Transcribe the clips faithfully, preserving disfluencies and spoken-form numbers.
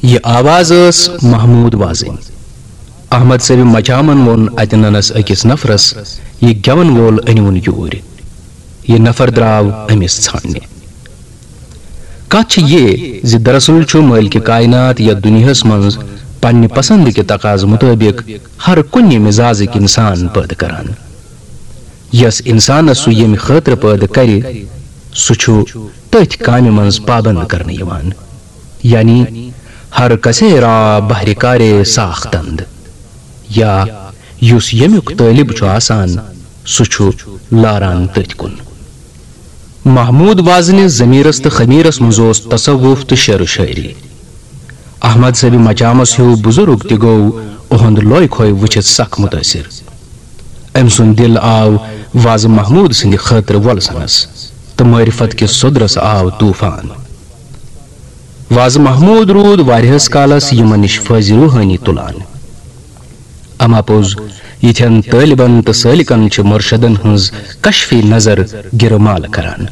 یہِ آواز ٲس محمود وازٕنۍ۔ احمد صٲبِ مچامن ووٚن اتہِ ننس أکِس نفرس، "یہِ گٮ۪ون وول أنِوُن یوٗرۍ۔" یہِ نفر درٛاو أمِس ژھانٛڈنہِ۔ کتھ چھِ یہِ زِ دراصل چھُ مٲلکِ کائنات یتھ دُنیاہس منٛز پننہِ پسند کہِ تقاضہٕ مُطٲبِق ہر کُنہِ مزازٕکۍ انسان پٲدٕ کران۔ یس انسانس سُہ ییٚمہِ خٲطرٕ پٲدٕ کرِ، سُہ چھُ تٔتھۍ کامہِ منٛز پابند کرنہٕ یِوان، یعنی ہر کسے را بہرِ کارے ساختند، یا یُس ییٚمیُک طٲلب چھُ آسان، سُہ چھُ لاران تٔتھۍ کُن۔ محمود وازنہِ ضمیرس تہٕ خمیرس منٛز اوس تصوف تہٕ شعر و شاعری۔ احمد صٲبِ مچامس ہیوٗ بزرگ تہِ گوٚو اُہُنٛد لوے کھوے وٕچھِتھ سخ متٲثر۔ أمۍ سُنٛد دِل آو وازٕ محمود سٕنٛدِ خٲطرٕ وۄلسنس تہٕ معرفت کِس سوٚدرس آو طوفان۔ وازٕ محمود روٗد واریاہس کالس یِمن نِش فٲضِ روحٲنی تُلان۔ اما پوٚز، یِتھٮ۪ن طٲلبن تہٕ سٲلِکن چھِ مرشدن ہٕنٛز کشفی نظر گِرٕ مال کران۔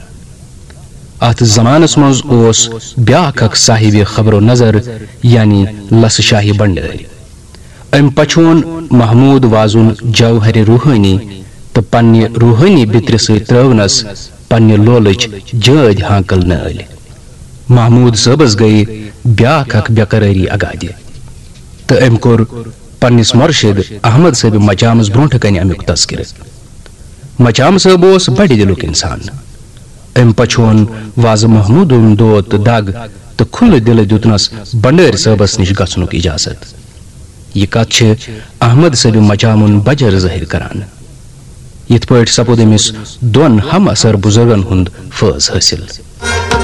اتھ زمانس منٛز اوس بیاکھ اکھ صاحبِ خبر و نظر، یعنی لسہٕ شاہی بنڈٲرۍ۔ أمۍ پچھون محمود وازُن جوہرِ روحٲنی تہٕ پننہِ روحٲنی بِترِ سۭتۍ ترٲونس پننہِ لولٕچ جٲدۍ ہانکل نٲلۍ۔ محمود صٲبس گٔیہِ بیاکھ اکھ بے قرٲری اگادِ تہٕ أمۍ کوٚر پننِس مرشد احمد صٲبِ مچامس برونٛٹھٕ کنہِ امیُک تذکرٕ۔ مچام صٲب اوس بڑِ دِلُک انسان۔ أمۍ پچھون وازٕ محمودُن دود تہٕ دگ تہٕ کھُلہٕ دِلہٕ دیُتنس بنڈٲرۍ صٲبس نِش گژھنُک اجازت۔ یہِ کتھ چھِ احمد صٲبِ مچامُن بجر ظٲہِر کران۔ یِتھ پٲٹھۍ سپُد أمِس دۄن ہم عصر بزرگن ہُنٛد فٲض حٲصِل۔